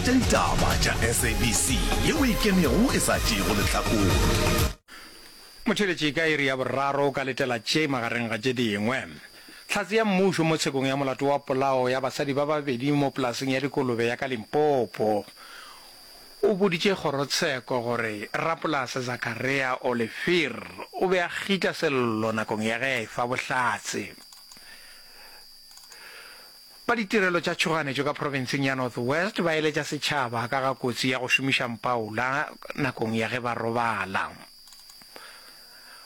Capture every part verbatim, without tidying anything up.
Dikgolo tša ditaba tša S A B C yeo e ikemego e sa tšeego lehlakore. Motheeletši, ka iri ya boraro o ka letela tše magareng ga tše dingwe. Hlatse ya mmušo mo tshekong ya molato wa polao ya basadi ba babedi mo polaseng ya dikolobe ya ka Limpopo o boditše kgorotsheko gore rapolase Zakaria Olivier o be a kgitla sello nakong ya ge a efa bohlatse. Ba ditirelo tša tšhoganetšo ka profenseng ya North West ba eletša setšhaba ka ga kotsi ya go šomiša mpaola nakong ya ge ba robala.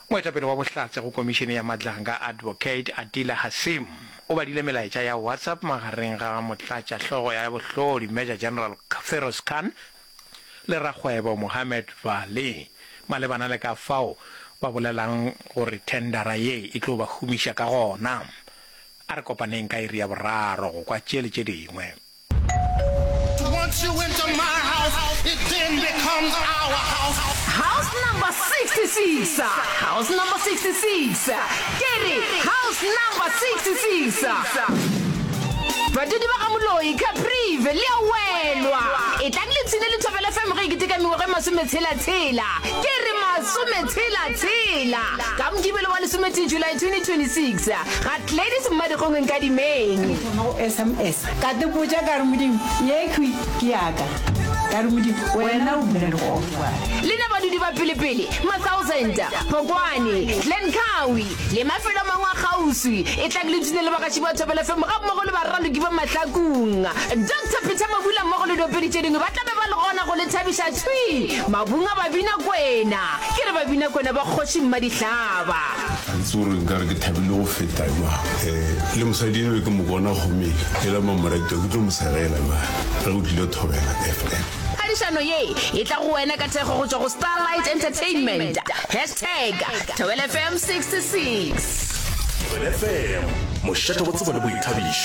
Moetapele wa bohlatse go komišene ya Madlanga, Advocate Adila Hassim, o badile melaetša ya WhatsApp magareng ga motlatša hlogo ya bohlodi Major General Feroz Khan le rakgwebo Mohammed Vally malebana le ka fao ba bolelang gore thendara ye e tlo ba humiša ka gona. A re kopaneng ka iri ya boraro go kwa tše le tše dingwe. Once you enter my house, it then becomes our house. House number sixty-six, house number sixty-six, ke re house number sixty-six. Badudi ba ga Moloi, Caprive, le a welwa. Etlang le ipshine le Thobela F M ge e keteka mengwaga e masometshela-tshela. Ke re masometshela-tshela. Ka Mokibelo wa lesometee July twenty twenty-six, ga Gladys Mmadikgong Nkadimeng. Thoma go S M S ka te botša ka re Modimo ye khwi ke yaka ka re Modimo wena o bula legogo. Lena badudi ba pelepele, Ma-Thousand, Phokwane, Glencoe le mafelo a mangwe a kgauswi, etlang le ipshine le bagaši ba Thobela F M gammogo le baraloki ba Mahlakung. Doctor Peter Mabula mmogo le diopedi tše dingwe ba tla be ba le gona go le thabiša thwi mabung a Babina Kwena. Ke re Babina Kwena ba kgoši Mmadihlaba. Ga ke tsebe gore nkare ke thabile go feta jwang. Um le mosadi eno ke mo bona gomeng e le mamorato ke tlo mo segela jwang ge o tlile Thobela F M. Phadišano ye e tla go wena ka thekgo go tšwa go Starlight Entertainment. Hashtag Thobela F M sixty-six. Thobela F M, mošate wa tsebo le boithabišo.